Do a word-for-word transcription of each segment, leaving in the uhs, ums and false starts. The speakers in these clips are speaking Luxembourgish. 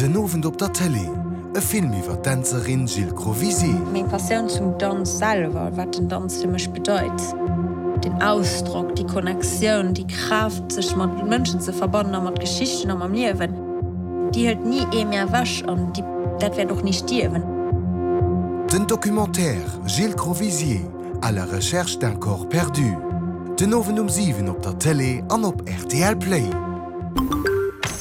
Den Owend op der Tëlee, e Film iwwer d'Dänzerin Jill Crovisier. Meng Passioun zum Danz selwer, wat den Danz fir mech bedeit, den Ausdrock, déi Connectioun, déi Kraaft, sech mat Mënschen ze verbannen a mat Geschichten a mam Liewen, déi hëlt ni ee mir ewech an déi, dat wäert och ni stierwen. Den Documentaire Jill Crovisier, À la recherche d'un corps perdu, den Owend um siwen op der Tëlee an op rtl Play.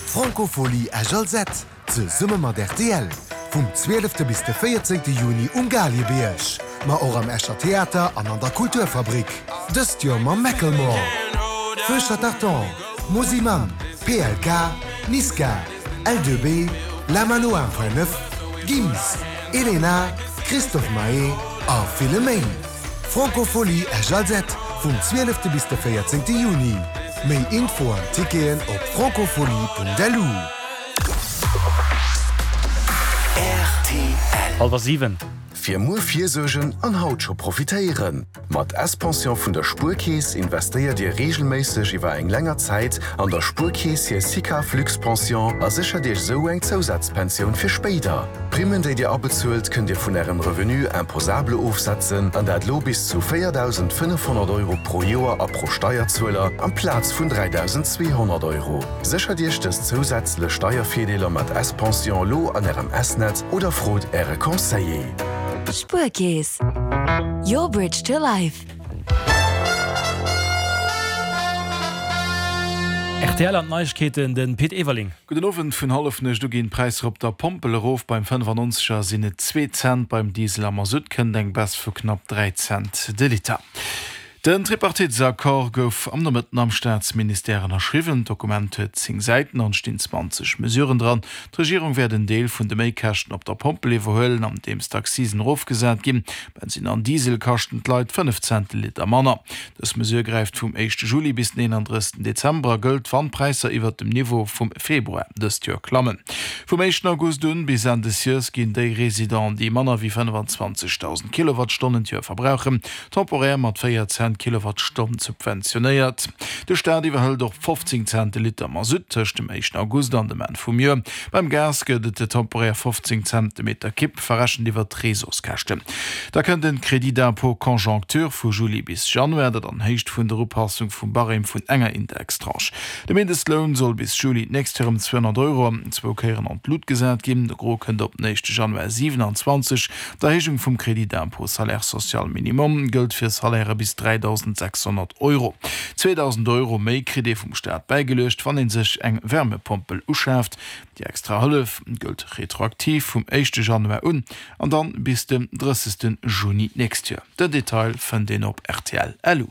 D'Francophonie Esch-Alzette, zesumme mat rtl, vum zwielefte bis de véierzéngte Juni um Galiebierg, ma och am Escher Theater an an der Kulturfabrik. Dëst Joer mam Macklemore, Feu Tartan, Mosimann, P L K, Niska, L deux B, La Mano un Point neuf, Gims, Elena, Christophe Maé a ville méi. Francophonie Esch-Alzette vum zwielefte bis de véierzéngte Juni. Méi Info an Ticketen op francophonie Punkt L U. R T L. Hallwer siwen. Fir muer virsuergen an haut scho profitéieren. Mat S-Pension vun der Spuerkeess investéiert Dir reegelméisseg iwwer eng länger Zäit an der Spuerkeess hir SICAV Luxpension a séchert Iech sou eng Zousazpensioun fir spéider. D'Primmen, déi Dir abezuelt, kënnt Dir vun Ärem Revenu imposable ofsetzen, an dat lo bis zu véierdausendfënnefhonnert Euro pro Joer a pro Steierzueler amplaz vun dräidausendzweehonnert Euro. Séchert Iech dës zousätzlech Steiervirdeeler mat S-Pension lo an Ärem S-Net oder frot Äre Conseiller. Spuerkeess. Your bridge to life. R T L an d'Neiegkeeten, de Pit Everling. Gudden Owend. Vun hallefnuecht u ginn d'Präisser op der Pompel erof. Beim fënnefannonzeger sinn et zwee Cent, beim Diesel a Masutt kënnt eng Baisse vu knapp dräi Cent de Liter. Den Tripartitesaccord gouf am Nomëtten am Staatsministère ënnerschriwwen. D'Dokument huet zéng Säiten an stinn zwanzeg Mesuren dran. D'Regierung wäert en Deel vun de Méikäschten op der Pompel iwwerhuelen, andeems d'Accisen erofgesat ginn. Bensinn an Diesel kaschten d'Leit fënnef Cent de Liter manner. Dës Mesure gräift vum éischte Juli bis den eenandrëssegsten Dezember a gëllt, wann d'Präisser iwwert dem Niveau vum Februar dëst Joer klammen. Vum éischten August un bis Enn des Joers ginn déi Residenten, déi manner wéi fënnefenzwanzegdausend Kilowattstonnen d'Joer verbrauchen, temporär mat véier Cent d'Kilowattstonn subventionéiert. De Staat iwwerhëlt och fofzéng Cent de Liter Masutt tëscht dem éischten August an dem Enn vum Joer. Beim Gas gëtt et temporär fofzéng Cent de Meter Kibb, verrechent iwwer d'Réseauskäschten. Da kënnt den Crédit d'impôt conjoncture vu Juli bis Januar, dat an Héicht vun der Upassung vum Barème vun enger Indextranche. De Mindestloun soll bis Juli d'nächst Joer ëm zweehonnert Euro zwou Kéieren an d'Lut gesat ginn. De Gros kënnt op den éischte Januar siewenanzwanzeg. D'Erhéijung vum Crédit d'impôt salaire social minimum gëllt fir Salairë bis dräidausendsächshonnert Euro. Zweedausend Euro méi kritt ee vum Staat bäigeluecht, wann ee sech eng Wärmepompel uschaaft. Déi extra Hëllef gëllt retroaktiv vum éischte Januar un an dann bis den drëssegste Juni d'nächst Joer. Den Detail fënnt een op R T L L U.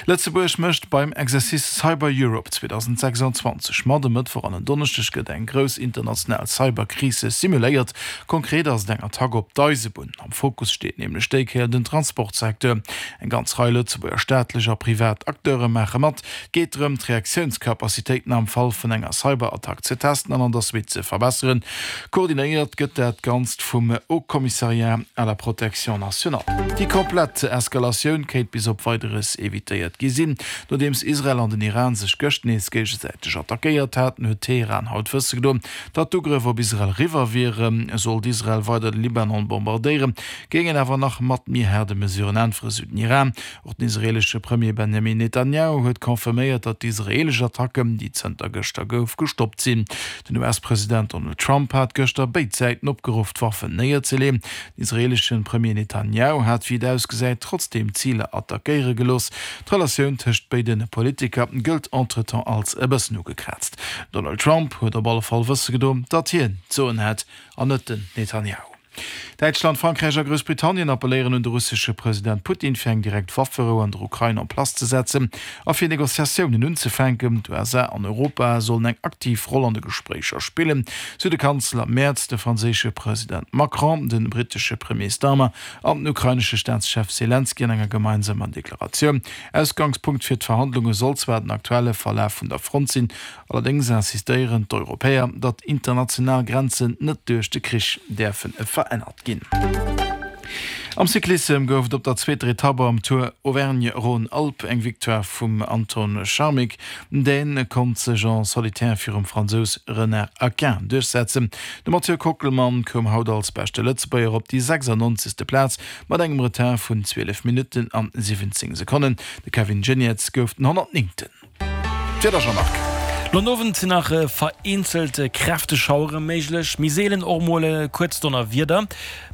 Lëtzebuerg mécht beim Exercice Cyber Europe zweedausendsechsanzwanzeg mat. E Mëttwoch an en Donneschdeg gëtt eng grouss international Cyberkris simuléiert. Konkret ass et eng Attack op d'Eisebunn. Am Fokus steet nämlech déi Kéier den Transportsecteur. Eng ganz Rei Lëtzebuerger staatlech a privat Acteure maache mat. Et geet drëm, d'Reaktiounscapacitéiten am Fall vun enger Cyberattack ze testen an an der Suite ze verbesseren. Koordinéiert gëtt dat Ganzt vum Haut Commissariat à la protection nationale. Déi komplett Eskalatioun kéint bis op Weideres evitéiert gi sinn. Nodeems Israel an den Iran sech gëscht nees géigesäiteg attackéiert haten, huet Teheran haut wësse gedoen, datt d'Ugrëff op Israel eriwwer wieren. Sollt Israel weider de Libanon bombardéieren, géing een awer nach mat méi haarde Mesuren äntweren, sou den Iran. Och den israeelesche Premier Benjamin Netanjahu huet confirméiert, datt d'israeelesch Attacken, déi zënter gëschter gouf, gestoppt sinn. Den U S-President Donald Trump hat gëschter béid Säiten opgeruff, d'Waffen néierzeleeën. Den israeelesche Premier Netanjahu hat, wéi et ausgesäit, trotzdeem Ziler attackéiere gelooss. D'Relatioun tëscht béide Politiker gëllt entretemps als e bëssen ugekraazt. Donald Trump huet op alle Fall wësse gedoen, datt hien d'Soen hätt an net den Netanjahu. Däitschland, Frankräich a Groussbritannien appelléieren un de russesche President Putin, fir eng direkt Wafferou an der Ukrain en place ze setzen a fir Negociatiounen unzefänken. D'U S A an Europa sollen eng aktiv Roll an de Gespréicher spillen, sou de Kanzler Merz, de franséische President Macron, de brittesche Premier Starmer an den ukrainesche Staatschef Selenskyj an enger gemeinsamer Deklaratioun. Ausgangspunkt fir d'Verhandlunge soll zwar den aktuelle Verlaf vun der Front sinn, allerdéngs insistéieren d'Europäer, datt international Grenzen net duerch de Krich däerfe verännert ginn. Am Cyclissem gouf et op der zweeter Etapp am Tour Auvergne-Rhône-Alpes eng Victoire vum Anton Charmig. Dee konnt sech en solitaire virum Fransous Renard Aquin duerchsetzen. De Mathieu Kockelmann koum haut als beschte Lëtzebuerger op déi sechsannonzegste Plaz mat engem Retard vun zwielef Minutten an siwwenzéng Sekonnen. De Kevin Geniets gouf den honnertnéngten. D'Wieder, Jean-Marc. Lo den Owend sinn nach vereenzelt kräfteg Schauere méiglech, méi seelen och mol e kuerzt Donnerwieder.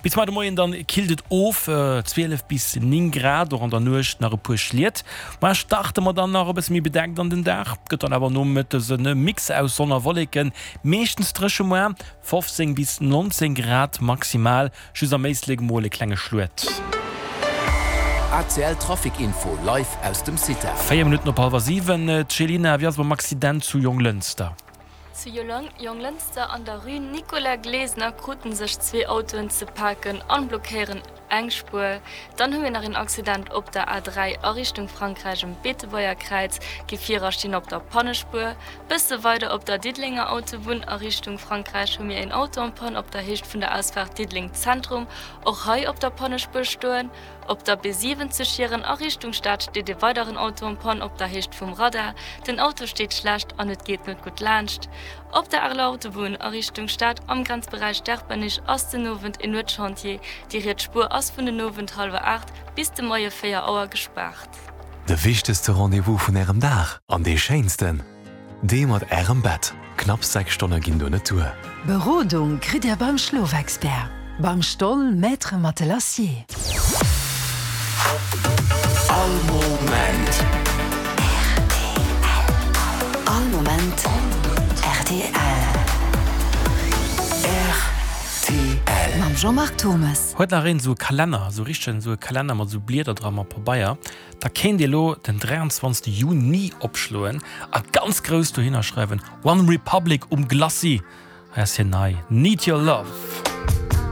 Bis muer de Moien dann killt et of, zwielef bis néng Grad, och an der Nuecht nach e puer Schliet. Muer starte mer dann nach e bësse méi bedeckt an den Dag, gëtt dann awer nomëttes e Mix aus Sonn a Wolleken, meeschtens dréche muer, fofzéng bis nonzéng Grad maximal, just am Éislek mol e klenge Schluet. A C L Trafic Info live aus dem CITA. Véier Minutten op hallwer siwen. D'Chelina, wéi ass et mam Accident zu Jonglënster? Zu Jonglënster an der Rue Nicolas Glesener kruten sech zwee Autoen ze paken an blockéieren eng Spuer. Dann hu mir nach een Accident op der A dräi a Richtung Frankräich um Beetebuerger Kräiz. Gefierer stinn op der Pannespuer. Bësse weider op der Diddelenger Autobunn a Richtung Frankräich hu mir een Auto en panne op der Héicht vun der Ausfaart Diddeleng Zentrum, och hei op der Pannespuer stoen. Op der B siwen zu Schieren a Richtung Stad steet ee weideren Auto en panne op der Héicht vum Radar. Den Auto steet schlecht an et geet net gutt laanscht. Op der Areler Autobunn a Richtung Stad am Grenzberäich Sterpenich ass den Owend een Nuetschantier. Déi riets Spuer ass vun den Owend hallwer aacht bis de Moie véier Auer gespaart. De wichtegste Rendez-vous vun Ärem Dag an dee schéinsten, dee mat Ärem Bett. Knapp sechs Stonne ginn do net duer. Berodung kritt Dir beim Schlofexpert, beim Stoll Maître Matelassier. All Moment R T L. All Moment R T L. R T L. Mam Jean-Marc Turmes. Huet nach een esou e Kalenner, esou richtegen esou e Kalenner mat esou Blieder dra mat Pabeier, da kéint Dir elo den dräianzwanzegste Juni opschloen a ganz grouss dohinner schreiwen, One Republic um Glacis. Hei ass hien nei, Need Your Love.